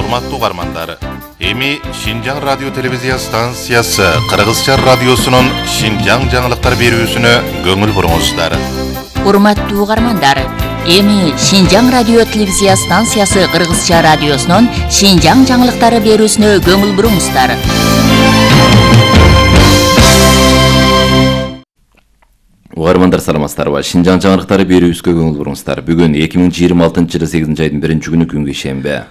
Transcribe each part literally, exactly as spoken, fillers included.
Урматтуу угармандар, эми Шинжаң радио телевизия станциясы Кыргызча радиосунун Шинжаң жаңылыктар берүүсүнө көңүл буруңуздар. Урматтуу угармандар, эми Шинжаң радио телевизия станциясы Кыргызча радиосунун Шинжаң жаңылыктары берүүсүнө көңүл буруңуздар. Угармандар саламатсыздарбы? Шинжаң жаңылыктары берүүбүзгө көңүл буруңуздар. Бүгүн эки миң жыйырма алтынчы жылы сегизинчи айдын биринчи күнү күнгө шембе.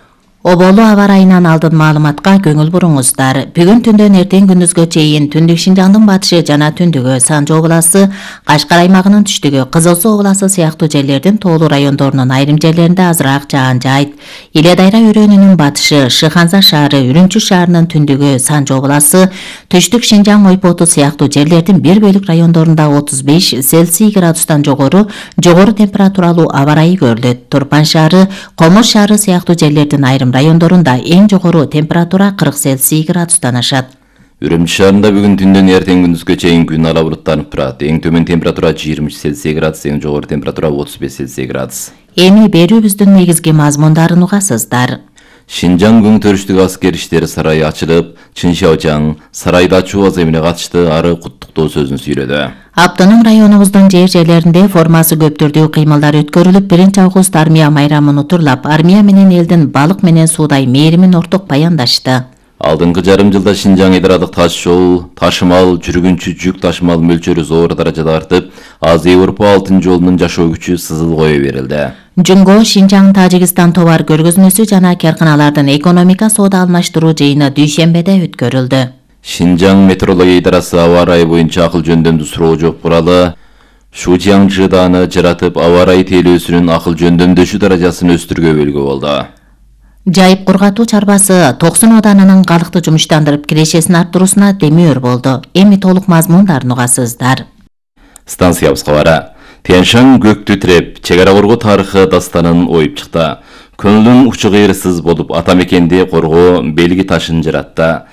Оболу аба ырайынан алдын маалыматка көңүл буруңуздар. Бүгүн түндөн эртең күндүзгө чейин түндүк Шинжаңдын батышы жана түндүгү Санжы областы, Кашкар аймагынын түштүгү Кызыл Суу областы сыяктуу жерлердин тоолуу райондорунун айрым жерлеринде азыраак жаан жайт. Иле Дайра өрөөнүнүн батышы Шыханза шаары, Үрүмчү шаарынын түндүгү Санжы областы, түштүк Шинжаң ойпоту сыяктуу жерлердин бир бөлүк райондорунда отуз беш Цельсий градустан жогору, жогору температуралуу аба ырайы көрүлөт. Турпан шаары, Комуз шаары сыяктуу жерлердин айрым райондорунда эң жогору температура кырк Цельсий градустан ашат. Үрүмчү шаарында бүгүн түндөн эртең күндүзгө чейин күн ала булуттанып турат. Эң төмөн температура жыйырма үч Цельсий градус, эң жогору температура отуз беш Цельсий градус. Эми берүүбүздүн негизги мазмундарын угасыздар. Шинжаң көңтөрүштүк аскер иштери сарайы ачылып, Чын Шаожаң сарайда ачуу аземине катышты, ары куттуктоо сөзүн сүйлөдү. Автоном районубуздун жер жерлеринде формасы көп түрдүү кыймылдар өткөрүлүп, биринчи август армия майрамын утурлап, армия менен элдин балык менен суудай мээримин орток баяндашты. Алдыңкы жарым жылда Шинжаң ыйдырадык таш жол, ташымал, жүргүнчү жүк ташымал мөлчөрү зор даражада артып, Азия Европа алтын жолунун жашоо күчү сызыл кое берилди. Жунго Шинжаң Тажикстан товар көргөзмөсү жана карканалардын экономика соода алмаштыруу жыйыны дүйшембеде өткөрүлдү. Шинжаң метрология идарасы аба ырайы боюнча акыл жөндөмдүү суроо жооп куралы Шужяң жыдааны жаратып, аба ырайы тейлөөсүнүн акыл жөндөмдөшүү даражасын өстүргө болду. Жайып кургатуу чарбасы токсон оданынын калыкты жумуштандырып кирешесин арттыруусуна демөөр болду. Эми толук мазмундарын угасыздар. Станциябызга бара. Тянь-Шань көктү тиреп, чек ара коргоо тарыхы дастанын оюп чыкты. Көңүлүн учу кыйрысыз болуп, ата мекенди коргоо белги ташын жаратты.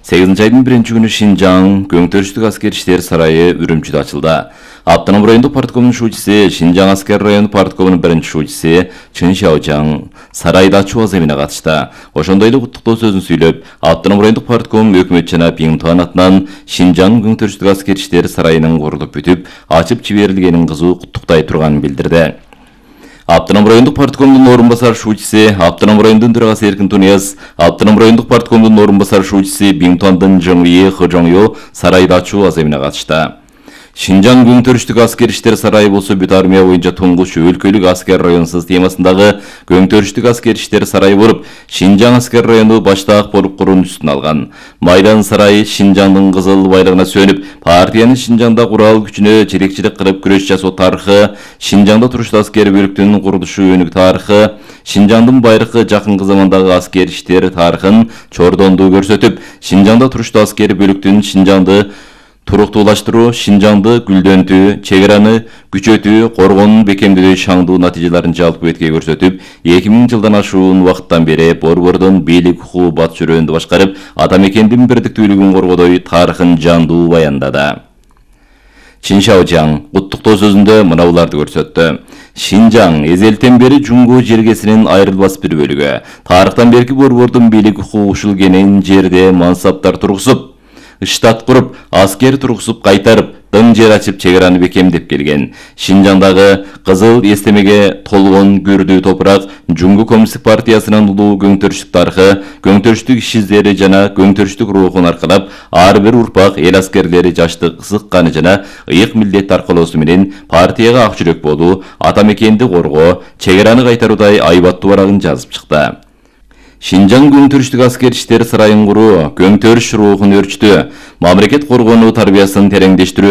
сегизинчи айдын биринчи күнү Шинжаң көңтөрүштүк аскер иштери сарайы Үрүмчүдө ачылды. Автоном райондук парткомунун шуучусу, Шинжаң аскер району парткомунун биринчи шуучусу Чын Шаожаң сарайда ачуу аземине катышты. Ошондой эле куттуктоо сөзүн сүйлөп, автоном райондук партком өкмөт жана Пиңтуан атынан Шинжаң көңтөрүштүк аскер иштери сарайынын курулуп бүтүп, ачып жиберилгенин кызуу куттуктай турганын билдирди. Автоном райондук парткомдун орун басар шуучусу, автоном райондун төрагасы Эркин Тунияз, автоном райондук парткомдун орун басар шуучусу Пиңтуандын Жоңие Хожоңё сарайда ачуу аземине катышты. Шинжаң көңтөрүштүк аскер иштери сарайы болсо бүт армия боюнча туңгуч өлкөлүк аскер районсуз темасындагы көңтөрүштүк аскер иштери сарайы болуп, Шинжаң аскер району баштаак болуп куруунун үстүн алган. Майдан сарайы Шинжаңдын кызыл байлыгына сөнүп, партиянын Шинжаңда курал күчүнө жетекчилик кылып күрөш жасоо тарыхы, Шинжаңда туруштуу аскер бөлүктүнүн курулушу өнүк тарыхы, Шинжаңдын байыркы жакынкы замандагы аскер иштери тарыхын чордондуу көрсөтүп, Шинжаңда туруштуу аскер бөлүктүн Шинжаңды туруктуулаштыруу, Шинжаңды гүлдөнтүү, чек араны күчөтүү, коргоонун бекемдөө шаңдуу натыйжаларын жалпы бетке көрсөтүп, эки миң жылдан ашуун убакыттан бери борбордон бийлик укугу батыш өрөөнү башкарып, ата мекендин бирдиктүүлүгүн коргодой тарыхын жандуу баяндады. Чын Шаожаң куттуктоо сөзүндө мына буларды көрсөттү. Шинжаң эзелтен бери Жунго жергесинин айрылбас бир бөлүгү. Тарыхтан берки борбордун бийлик укугу ушул кенен жерде мансаптар тургузуп, штат куруп, аскер тургузуп кайтарып, дың жер ачып чек араны бекемдеп келген. Шинжаңдагы кызыл эстемеге толгон көрдүү топурак Жунго коммунисттик партиясынын улуу көңтөрүштүк тарыхы, көңтөрүштүк иш издери жана көңтөрүштүк рухун аркалап, ар бир урпак эл аскерлери жаштык ысыкканы жана ыйык милдет аркалоосу менен партияга ак жүрөк болуу, ата мекенди коргоо, чек араны кайтаруудай айбаттуу барагын жазып чыкты. Шинжаң көңтөрүштүк аскер иштери сарайын куруу көңтөрүш рухун өрчүтүү, мамлекет коргонуу тарбиясын тереңдештирүү,